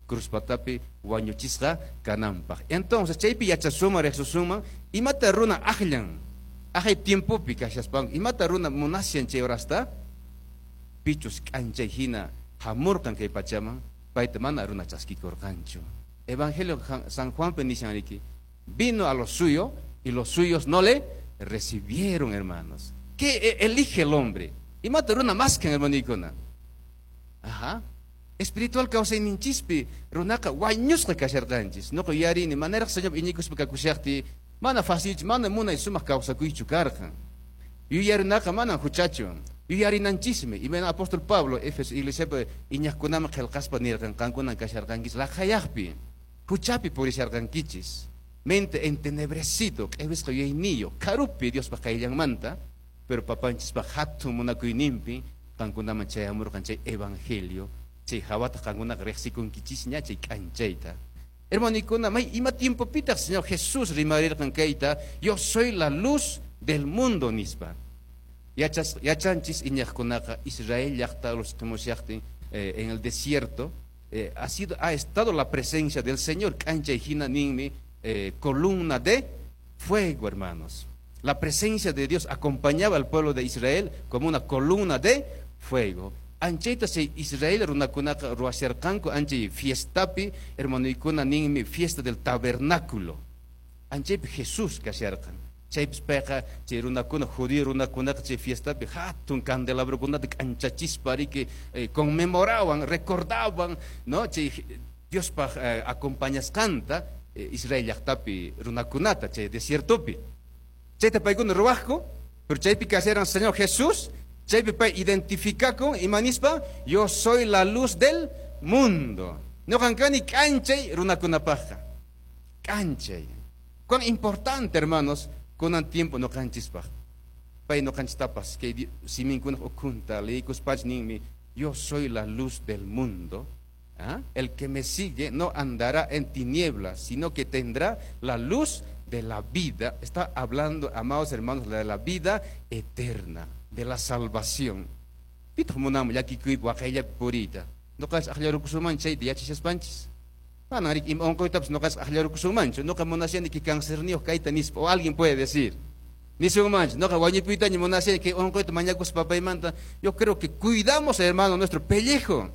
Cruz patapi wañuchisqa kananpaq. Entonces chaypi yachasuman, riqsusunman, imata runa aqllan aqay tiempopi kashaspanku, imata runa munashan chay horasta, pichus k'anchay hina hamurqan kay pachaman, payta mana runa chaskikurqanchu. Evangelio San Juanpi nishan riki, vino a lo suyo y los suyos no le recibieron, hermanos. ¿Qué elige el hombre? Imata runa maskan, hermanikuna? Ajá. Espiritual kawsayninchispi runaqa wañusqa kasharqanchis. Nuqa yuyarini manaraq Señor iñikuspa kakushaqti, mana facilchu, mana munay sumaq kawsakuychu karqan. Yuyarinaqa manan huchachu. Yuyarinanchismi. Imayna apóstol Pablo Éfeso iglesiapi iñaqkunaman qillqaspa nirqan, qankunan kasharqankichis laqhayaqpi, huchapi purisharqankichis. Mente entenebrecido, q'iwisqa yuyayniyuq, karupi Diospaq qayllanmanta, pero papanchispaq hatun munakuyninpi qankunaman chayamurqan chay evangelio, chay hawata qankunaqa riqsikunkichisña chay k'anchayta. Hermanikuna, may ima tiempopitaq Señor Jesús rimarirqan kayta, "Yo soy la luz del mundo" nispa? Yachanchis iñaqkunaqa Israel llaqta los qimushaqtin en el desierto, ha estado la presencia del Señor, k'anchay hina ninmi, columna de fuego, hermanos. La presencia de Dios acompañaba al pueblo de Israel como una columna de fuego. Anchayta chay Israel runakunaqa ruwasharqanku anchay fiestapi, hermanoykuna, ninmi fiesta del tabernáculo. Anchaypi Jesús kasharqan. Chaypis payqa chay runakuna, judío runakunaqa chay fiestapi hatun candelabrokunata k'anchachispa riki conmemoraban, recordaban, no, chay Diospaq acompañasqanta Israel llaqtapi runakunata chay desiertopi. Chayta paykuna ruwaqku, pero chaypi kasharan Señor Jesús, chaypi pay identificakun imanispa, "Yo soy la luz del mundo. Ñuqan kani k'anchay runakunapaqqa." K'anchay. Cuán importante, hermanos, kunan tiempo ñuqanchispaq. Pay ñuqanchistapas kay siminkunaq ukhunta leykuspach ninmi, "Yo soy la luz del mundo. ¿Ah? El que me sigue no andará en tinieblas, sino que tendrá la luz de la vida." Está hablando, amados hermanos, de la vida eterna, de la salvación. Pitaq munanman llakikuypi waqayllapi puriyta? Ñuqanchis aqllarukusunman chayta yachashaspanchis. Manan riki ima unquytapas ñuqanchis aqllarukusunmanchu. "Ñuqa munashani kay cancerniyuq kayta" nispa. O alguien puede decir. Nisunmanchu, "Ñuqa wañupuytaña munashani kay unquyta mañakuspa papaymanta"? Yo creo que cuidamos, hermano, nuestro pellejo.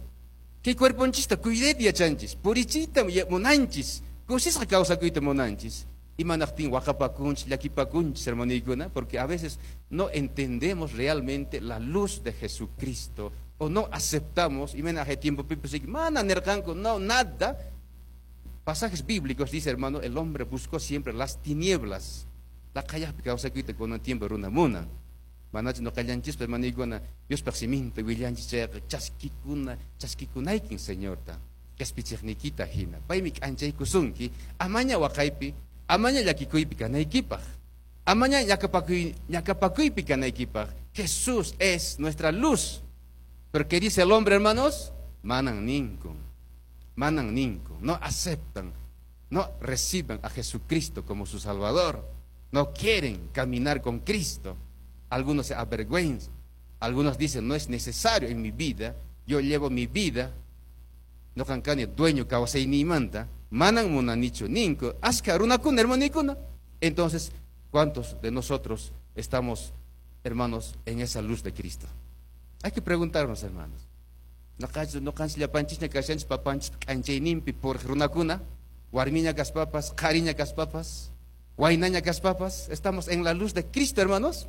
Kay cuerponchista cuidayta yachanchis, purichiyta munanchis, kusisqa kawsakuyta munanchis. Imanaqtin waqapakunchis, llakipakunchis, hermanoykuna? Porque a veces no entendemos realmente la luz de Jesucristo o no aceptamos. Imayna tiempo mana nirqanku, no, nada. Pasajes bíblicos dice, hermano, el hombre buscó siempre las tinieblas. Laqhayaqpi kawsakuyta kunan tiempo runa munan. Manachu ñuqallanchispa, hermanoykuna, Diospaq siminta willanchis chayqa chaskikuna, chaskikunaykin Señorta qhispichiqniykita hina. Paymi k'anchaykusunki amaña waqaypi, amaña llakikuypi kanaykipaq, amaña ñakapakuypi kanaykipaq. Jesús es nuestra luz. Pero ¿qué dice el hombre, hermanos? Manan ninkun, manan ninkun, no aceptan, no reciben a Jesucristo como su Salvador, no quieren caminar con Cristo. Algunos se avergüenzan, algunos dicen: "No es necesario en mi vida, yo llevo mi vida, ñuqan kani dueño kawsayniymanta, manan munanichu" ninku askha runakuna, hermanikuna. Entonces, ¿cuántos de nosotros estamos, hermanos, en esa luz de Cristo? Hay que preguntarnos, hermanos. Ñuqanchis llapanchisña kashanchis papanchis k'anchayninpi puriq runakuna, warmiña kaspapas, qhariña kaspapas, waynaña kaspapas, estamos en la luz de Cristo, hermanos.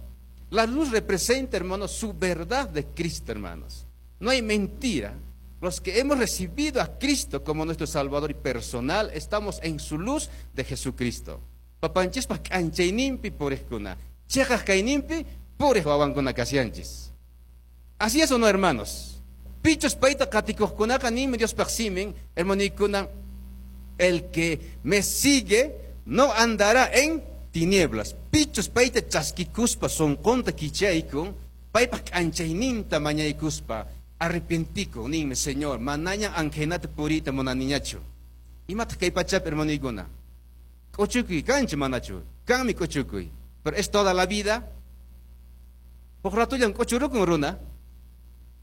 La luz representa, hermanos, su verdad de Cristo, hermanos. No hay mentira. Los que hemos recibido a Cristo como nuestro Salvador y personal, estamos en su luz de Jesucristo. Papanchispa k'anchayninpi puriqkuna, chiqaq kayninpi puriq wawankuna kashanchis. Así es o no, hermanos. Pichus payta qatikuqkunaqa ninmi Diospaq simin, hermanikuna, "El que me sigue no andará en tinieblas." Pichus payta chaskikuspa sunqunta kichaykun, paypaq k'anchayninta mañaykuspa, arrepentikun, ninmi, "Señor, manaña anqhaynata puriyta munaniñachu." Imataq kay pachapi, hermanoykuna? K'uchukuy kanchu manachu? Kanmi k'uchukuy. Pero es toda la vida. Huk ratullan k'uchurukun runa.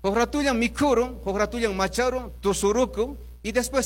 Huk ratullan mikhurun, huk ratullan macharun, tusurukun, y después